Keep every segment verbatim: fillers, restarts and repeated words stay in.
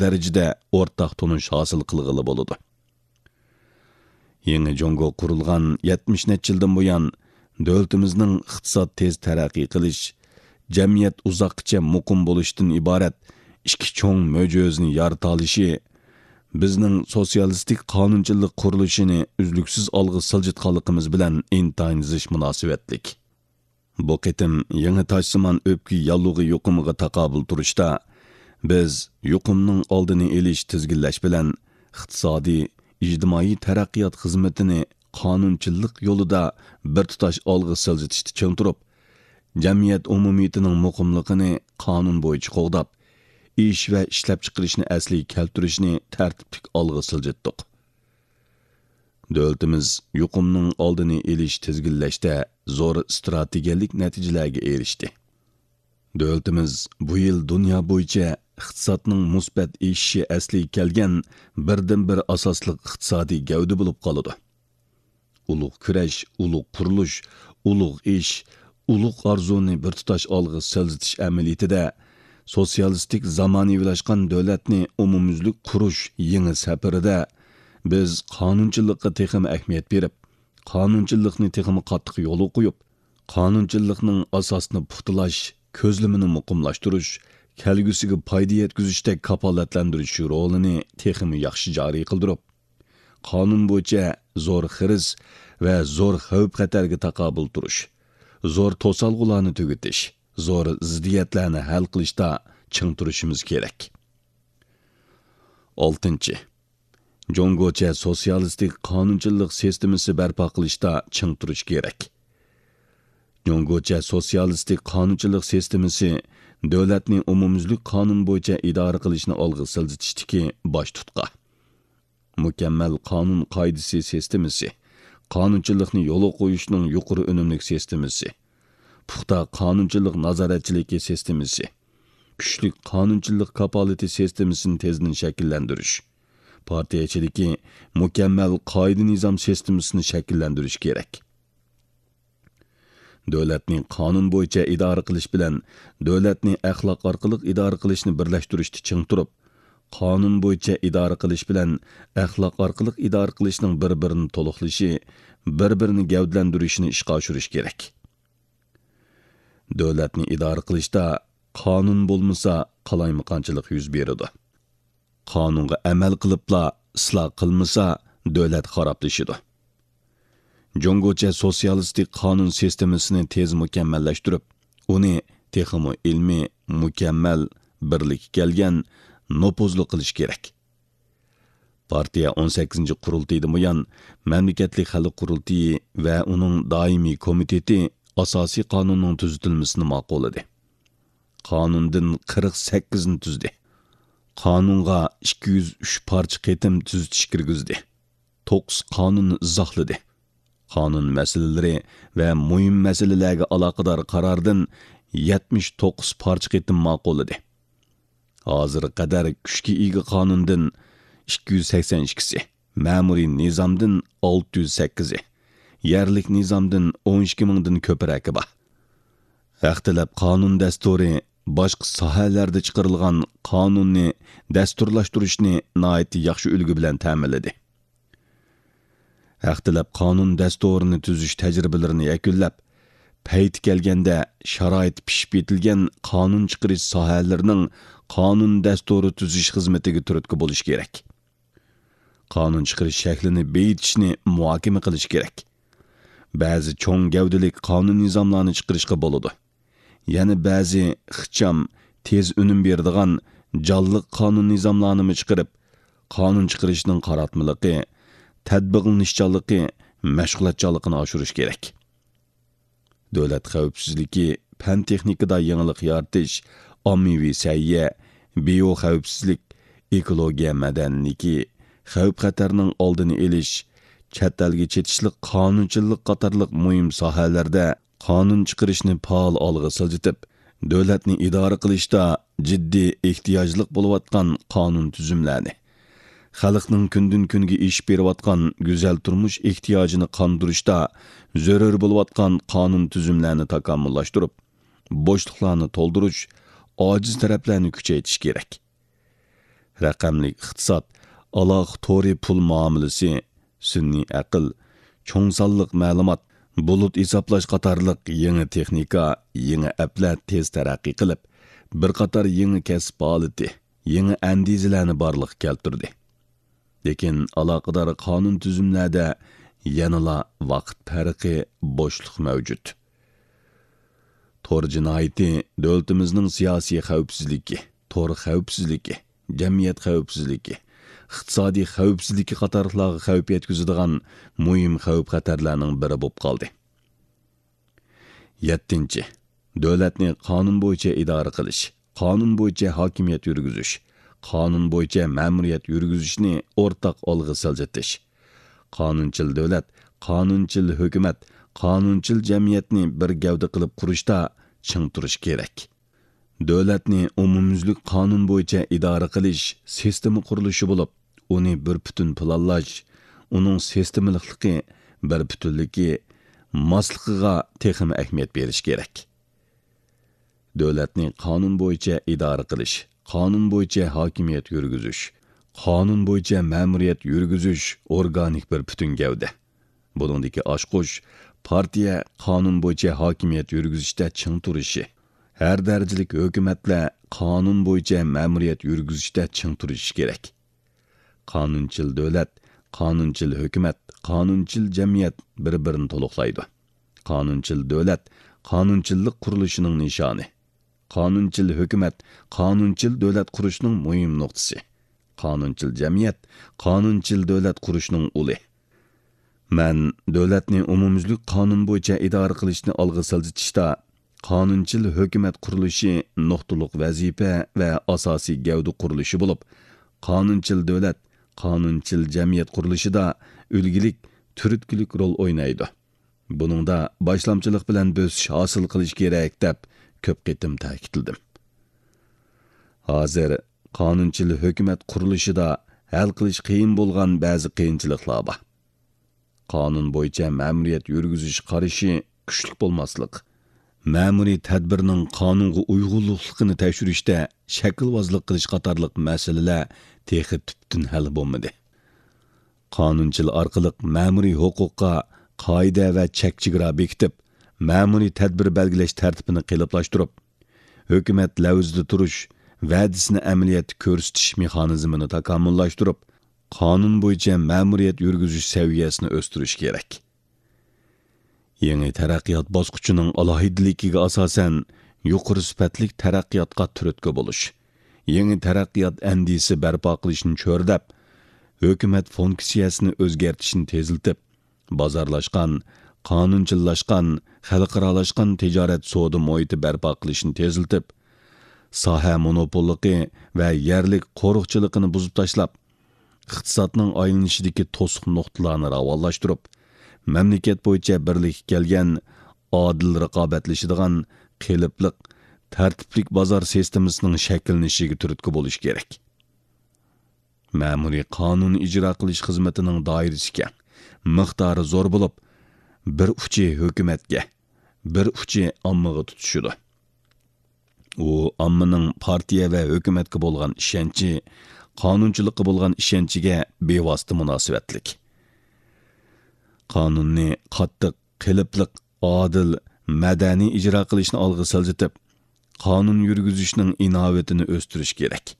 دەرىجىدە ئورتاق تونۇش ھاسىل قىلغىلى بولىدۇ. يېڭى جۇڭگو قۇرۇلغان يەتمىش نەچچە يىلدىن بۇيان، دۆلىتىمىزنىڭ ئىقتىساد تېز تەرەققىي قىلىش، جەمئىيەت ئۇزاققىچە مۇقىم بولۇشتىن ئىبارەت ئىككى چوڭ مۆجىزىنى يارىتالىشى، بىزنىڭ سوتسىيالىستىك قانۇنچىلىق قۇرۇلۇشىنى ئۈزلۈكسىز ئالغا سىلجىتقانلىقىمىز بىلەن ئىنتايىن زىچ مۇناسىۋەتلىك. بۇ قېتىم يېڭى تاجسىمان ئۆپكە ياللۇغى يۇقۇمىغا تاقابىل تۇرۇشتا، بىز يۇقۇمنىڭ ئالدىنى ئېلىش، تىزگىنلەش بىلەن ئىقتىسادىي، ئىجتىمائىي تەرەققىيات خىزمىتىنى قانۇنچىلىق يولىدا بىر تۇتاش ئالغا سىلجىتىشتا چىڭ تۇرۇپ، جەمئىيەت ئومۇمىيىتىنىڭ مۇقىملىقىنى قانۇن بويىچە قوغداپ، ئىش ۋە ئىشلەپچىقىرىشنى ئەسلىگە كەلتۈرۈشنى تەرتىپلىك ئالغا سىلجىتتۇق. دۆلىتىمىز يۇقۇمنىڭ ئالدىنى ئېلىش، تىزگىنلەشتە زور ئىستراتېگىيەلىك نەتىجىلەرگە ئېرىشتى. دۆلىتىمىز بۇ يىل دۇنيا بويىچە ئىقتىسادنىڭ مۇسبەت ئېشىشى ئەسلىگە كەلگەن بىردىنبىر ئاساسلىق ئىقتىسادىي گەۋدە بولۇپ قالىدۇ. ئۇلۇغ كۈرەش، ئۇلۇغ قۇرۇلۇش، ئۇلۇغ ئىش، ئۇلۇغ ئارزۇنى بىر تۇتاش ئالغا سىلجىتىش ئەمەلىيىتىدە، سوتسىيالىستىك زامانىۋىلاشقان دۆلەتنى ئومۇميۈزلۈك قۇرۇش يېڭى سەپىرىدە بىز قانۇنچىلىققا تېخىمۇ ئەھمىيەت بېرىپ، قانۇنچىلىقنى تېخىمۇ قاتتىق يولغا قويۇپ، قانۇنچىلىقنىڭ ئاساسىنى پۇختىلاش، كۆزلىمىنى مۇقىملاشتۇرۇش، كەلگۈسىگە پايدا يەتكۈزۈشتەك كاپالەتلەندۈرۈش رولىنى تېخىمۇ ياخشى جارى قىلدۇرۇپ، قانۇن بويىچە زور خىرىس ۋە زور خەۋپ-خەتەرگە تاقابىل تۇرۇش، زور توسالغۇلارنى تۈگىتىش، زور زىددىيەتلەرنى ھەل قىلىشتا چىڭ تۇرۇشىمىز كېرەك. ئالتىنچى، جۇڭگوچە سوتسىيالىستىك قانۇنچىلىق سىستېمىسى بەرپا قىلىشتا چىڭ تۇرۇش كېرەك. جۇڭگوچە سوتسىيالىستىك قانۇنچىلىق سىستېمىسى دۆلەتنى ئومۇميۈزلۈك قانۇن بويىچە ئىدارە قىلىشنى ئالغا سىلجىتىشتىكى باش تۇتقا. مۇكەممەل قانۇن قائىدىسى سىستېمىسى، قانۇنچىلىقنى يولغا قويۇشنىڭ يۇقىرى ئۈنۈملۈك سىستېمىسى، پۇختا قانۇنچىلىق نازارەتچىلىكى سىستېمىسى، كۈچلۈك قانۇنچىلىق كاپالىتى سىستېمىسىنى تېزدىن شەكىللەندۈرۈش، پارتىيە ئىچىدىكى مۇكەممەل قائىدە-نىزام سىستېمىسىنى شەكىللەندۈرۈش كېرەك. دۆلەتنى قانۇن بويىچە ئىدارە قىلىش بىلەن دۆلەتنى ئەخلاق ئارقىلىق ئىدارە قىلىشنى بىرلەشتۈرۈشتە چىڭ تۇرۇپ، قانۇن بويىچە ئىدارە قىلىش بىلەن ئەخلاق ئارقىلىق ئىدارە قىلىشنىڭ بىر-بىرىنى تولۇقلىشى، بىر-بىرىنى گەۋدىلەندۈرۈشىنى ئىشقا ئاشۇرۇش كېرەك. دۆلەتنى ئىدارە قىلىشتا قانۇن بولمىسا، قالايمىقانچىلىق يۈز بېرىدۇ. قانۇنغا ئەمەل قىلىپلا ئىسلاھ قىلمىسا، دۆلەت خارابلىشىدۇ. جۇڭگوچە سوتسىيالىستىك قانۇن سىستېمىسىنى تېز مۇكەممەللەشتۈرۈپ، ئۇنى تېخىمۇ ئىلمىي، مۇكەممەل، بىرلىككە كەلگەن، نوپۇزلۇق قىلىش كېرەك. پارتىيە ئون سەككىزىنچى قۇرۇلتىيىدىن بۇيان، مەملىكەتلىك خەلق قۇرۇلتىيى ۋە ئۇنىڭ دائىمىي كومىتېتى ئاساسىي قانۇننىڭ تۈزىتىلمىسىنى ماقۇللىدى. قانۇندىن قىرىق سەككىزنى تۈزدى. قانۇنغا ئىككى يۈز ئۈچ پارچە قېتىم تۈزىتىش كىرگۈزدى. توققۇز قانۇننى ئىزاھلىدى. قانۇن مەسىلىلىرى ۋە مۇھىم مەسىلىلەرگە ئالاقىدار قاراردىن يەتمىش توققۇز پارچە قېتىم ماقۇللىدى. ھازىرغا قەدەر كۈچكە ئىگە قانۇندىن ئىككى يۈز سەكسەن ئىككىسى، مەمۇرىي نىزامدىن ئالتە يۈز سەككىزى، يەرلىك نىزامدىن ئون ئىككى مىڭدىن كۆپرەكى بار. ھەق تەلەپ قانۇن دەستۇرى باشقا ساھەلەردە چىقىرىلغان قانۇننى دەستۇرلاشتۇرۇشنى ناھايىتى ياخشى ئۈلگە بىلەن تەمىنلىدى. ھەق تەلەپ قانۇن دەستۇرىنى تۈزۈش تەجرىبىلىرىنى يەكۈنلەپ، پەيتى كەلگەندە شارائىتى پىشىپ يېتىلگەن قانۇن چىقىرىش ساھەلىرىنىڭ قانۇن دەستۇرى تۈزۈش خىزمىتىگە تۈرتكە بولۇش كېرەك. قانۇن چىقىرىش شەكلىنى بېيىتىشنى مۇھاكىمە قىلىش كېرەك. بەزى چوڭ گەۋدىلىك قانۇن نىزاملارنى چىقىرىشقا بولىدۇ. يەنە بەزى ئىخچام، تېز ئۈنۈم بېرىدىغان جانلىق قانۇن نىزاملارنىمۇ چىقىرىپ، قانۇن چىقىرىشنىڭ قاراتمىلىقى، تەتبىقلىنىشچانلىقى، مەشغۇلاتچانلىقىنى ئاشۇرۇش كېرەك. دۆلەت خەۋپسىزلىكى، پەن-تېخنىكىدا يېڭىلىق يارىتىش، ئاممىۋى سەھىيە، بىيو خەۋپسىزلىك، ئېكولوگىيە مەدەنىيلىكى، خەۋپ-خەتەرنىڭ ئالدىنى ئېلىش، چەت ئەلگە چېتىشلىق قانۇنچىلىق قاتارلىق مۇھىم ساھەلەردە قانۇن چىقىرىشنى پائال ئالغا سىلجىتىپ، دۆلەتنى ئىدارە قىلىشتا جىددىي ئېھتىياجلىق بولۇۋاتقان قانۇن تۈزۈملەرنى، خەلقنىڭ كۈندىن-كۈنگە ئېشىپ بېرىۋاتقان گۈزەل تۇرمۇش ئېھتىياجىنى قاندۇرۇشتا زۆرۈر بولۇۋاتقان قانۇن تۈزۈملەرنى تاكامۇللاشتۇرۇپ، بوشلۇقلارنى تولدۇرۇش، ئاجىز تەرەپلەرنى كۈچەيتىش كېرەك. رەقەملىك ئىقتىساد، ئالاقە تورى پۇل مۇئامىلىسى، سۈنئىي ئەقىل، چوڭ سانلىق مەلۇمات، بۇلۇت ھېسابلاش قاتارلىق يېڭى تېخنىكا، يېڭى ئەپلەر تېز تەرەققىي قىلىپ، بىر قاتار يېڭى كەسىپ ھالىتى، يېڭى ئەندىزىلەرنى بارلىققا كەلتۈردى. لېكىن ئالاقىدار قانۇن تۈزۈملەردە يەنىلا ۋاقىت پەرقى، بوشلۇق مەۋجۇت. تور جىنايىتى دۆلىتىمىزنىڭ سىياسىي خەۋپسىزلىكى، تور خەۋپسىزلىكى، جەمئىيەت خەۋپسىزلىكى، ئىقتىسادىي خەۋپسىزلىكى قاتارلىقلارغا خەۋپ يەتكۈزىدىغان مۇھىم خەۋپ-خەتەرلەرنىڭ بىرى بولۇپ قالدى. يەتتىنچى، دۆلەتنى قانۇن بويىچە ئىدارە قىلىش، قانۇن بويىچە ھاكىمىيەت يۈرگۈزۈش، قانۇن بويىچە مەمۇرىيەت يۈرگۈزۈشنى ئورتاق ئالغا سىلجىتىش. قانۇنچىل دۆلەت، قانۇنچىل ھۆكۈمەت، قانۇنچىل جەمئىيەتنى بىر گەۋدە قىلىپ قۇرۇشتا چىڭ تۇرۇش كېرەك. دۆلەتنى ئومۇميۈزلۈك قانۇن بويىچە ئىدارە قىلىش سىستېما قۇرۇلۇشى بولۇپ، ئۇنى بىر پۈتۈن پىلانلاش، ئۇنىڭ سىستېمىلىقلىقى، بىر پۈتۈنلۈكى، ماسلىقىغا تېخىمۇ ئەھمىيەت بېرىش كېرەك. دۆلەتنى قانۇن بويىچە ئىدارە قىلىش، قانۇن بويىچە ھاكىمىيەت يۈرگۈزۈش، قانۇن بويىچە مەمۇرىيەت يۈرگۈزۈش ئورگانىك بىر پۈتۈن گەۋدە. بۇنىڭدىكى ئاچقۇچ پارتىيە قانۇن بويىچە ھاكىمىيەت يۈرگۈزۈشتە چىڭ تۇرۇشى، ھەر دەرىجىلىك ھۆكۈمەتلەر قانۇن بويىچە مەمۇرىيەت يۈرگۈزۈشتە چىڭ تۇرۇشى كېرەك. قانۇنچىل دۆلەت، قانۇنچىل ھۆكۈمەت، قانۇنچىل جەمئىيەت بىر-بىرىنى تولۇقلايدۇ. قانۇنچىل دۆلەت قانۇنچىللىق قۇرۇلۇشىنىڭ نىشانى. قانۇنچىل ھۆكۈمەت قانۇنچىل دۆلەت قۇرۇشنىڭ مۇھىم نۇقتىسى. قانۇنچىل جەمئىيەت قانۇنچىل دۆلەت قۇرۇشنىڭ ئۇلى. مەن دۆلەتنى ئومۇميۈزلۈك قانۇن بويىچە ئىدارە قىلىشنى ئالغا سىلجىتىشتا، قانۇنچىل ھۆكۈمەت قۇرۇلۇشى نۇقتىلىق ۋەزىپە ۋە ئاساسىي گەۋدە قۇرۇلۇشى بولۇپ، قانۇنچىل دۆلەت، قانۇنچىل جەمئىيەت قۇرۇلۇشىدا ئۈلگىلىك، تۈرتكىلىك رول ئوينايدۇ. بۇنىڭدا باشلامچىلىق بىلەن بۆسۈش ھاسىل قىلىش كېرەك، دەپ كۆپ قېتىم تەكىتلىدىم. ھازىر قانۇنچىل ھۆكۈمەت قۇرۇلۇشىدا ھەل قىلىش قىيىن بولغان بەزى قىيىنچىلىقلار بار. قانۇن بويىچە مەمۇرىيەت يۈرگۈزۈش قارىشى كۈچلۈك بولماسلىق، مەمۇرىي تەدبىرنىڭ قانۇنغا ئۇيغۇنلۇقلۇقىنى تەكشۈرۈشتە شەكىلۋازلىق قىلىش قاتارلىق مەسىلىلەر تېخى تۈپتىن ھەل بولمىدى. قانۇنچىل ئارقىلىق مەمۇرىي ھوقۇققا قائىدە ۋە چەك-چېگرا بېكىتىپ، مەمۇرىي تەدبىر بەلگىلەش تەرتىپىنى قېلىپلاشتۇرۇپ، ھۆكۈمەت لەۋزىدە تۇرۇش، ۋەدىسىنى ئەمەلىيەتتە كۆرسىتىش مېخانىزمىنى تاكامۇللاشتۇرۇپ، قانۇن بويىچە مەمۇرىيەت يۈرگۈزۈش سەۋىيەسىنى ئۆستۈرۈش كېرەك. يېڭى تەرەققىيات باسقۇچىنىڭ ئالاھىدىلىكىگە ئاساسەن، يۇقىرى سۈپەتلىك تەرەققىياتقا تۈرتكە بولۇش، يېڭى تەرەققىيات ئەندىزىسى بەرپا قىلىشنى چۆرىدەپ، ھۆكۈمەت فۇنكسىيەسىنى ئۆزگەرتىشنى تېزلىتىپ، بازارلاشقان، قانۇنچىللاشقان، خەلقئارالاشقان تىجارەت سودا مۇھىتى بەرپا قىلىشنى تېزلىتىپ، ساھە مونوپوللۇقى ۋە يەرلىك قورۇقچىلىقىنى بۇزۇپ تاشلاپ، ئىقتىسادنىڭ ئايلىنىشىدىكى توسۇق نۇقتىلارنى راۋانلاشتۇرۇپ، مەملىكەت بويىچە بىرلىككە كەلگەن، ئادىل رىقابەتلىشىدىغان، قېلىپلىق، تەرتىپلىك بازار سىستېمىسىنىڭ شەكىللىنىشىگە تۈرتكە بولۇش كېرەك. مەمۇرىي قانۇن ئىجرا قىلىش خىزمىتىنىڭ دائىرىسى كەڭ، مىقدارى زور بولۇپ، بىر ئۇچى ھۆكۈمەتكە، بىر ئۇچى ئاممىغا تۇتىشىدۇ. ئۇ ئاممىنىڭ پارتىيە ۋە ھۆكۈمەتكە بولغان ئىشەنچى، قانۇنچىلىققا بولغان ئىشەنچىگە بىۋاسىتە مۇناسىۋەتلىك. قانۇننى قاتتىق، قېلىپلىق، ئادىل، مەدەنىي ئىجرا قىلىشنى ئالغا سىلجىتىپ، قانۇن يۈرگۈزۈشنىڭ ئىناۋىتىنى ئۆستۈرۈش كېرەك.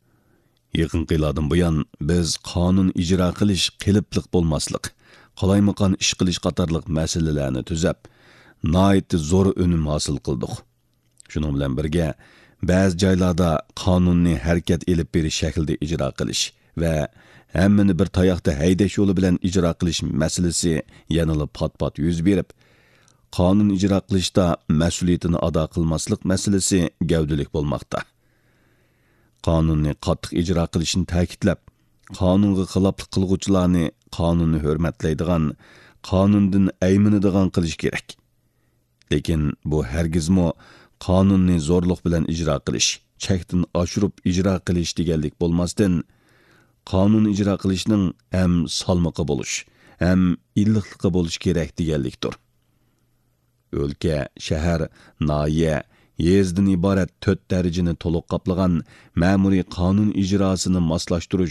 يېقىنقى يىللاردىن بۇيان، بىز قانۇن ئىجرا قىلىش، قېلىپلىق بولماسلىق، قالايمىقان ئىش قىلىش قاتارلىق مەسىلىلەرنى تۈزەپ، ناھايىتى زور ئۈنۈم ھاسىل قىلدۇق. شۇنىڭ بىلەن بىرگە، بەزى جايلاردا قانۇننى ھەرىكەت ئېلىپ بېرىش شەكلىدە ئىجرا قىلىش ۋە ھەممىنى بىر تاياقتا ھەيدەش يولى بىلەن ئىجرا قىلىش مەسىلىسى يەنىلا پات-پات يۈز بېرىپ، قانۇن ئىجرا قىلىشتا مەسئۇلىيىتىنى ئادا قىلماسلىق مەسىلىسى گەۋدىلىك بولماقتا. قانۇننى قاتتىق ئىجرا قىلىشنى تەكىتلەپ، قانۇنغا خىلاپلىق قىلغۇچىلارنى قانۇننى ھۆرمەتلەيدىغان، قانۇندىن ئەيمىنىدىغان قىلىش كېرەك. لېكىن بۇ ھەرگىزمۇ قانۇننى زورلۇق بىلەن ئىجرا قىلىش، چەكتىن ئاشۇرۇپ ئىجرا قىلىش دېگەنلىك بولماستىن، قانۇن ئىجرا قىلىشنىڭ ھەم سالمىقى بولۇش، ھەم ئىللىقلىقى بولۇش كېرەك دېگەنلىكتۇر. ئۆلكە، شەھەر، ناھىيە، يېزىدىن ئىبارەت تۆت دەرىجىنى تولۇق قاپلىغان مەمۇرىي قانۇن ئىجراسىنى ماسلاشتۇرۇش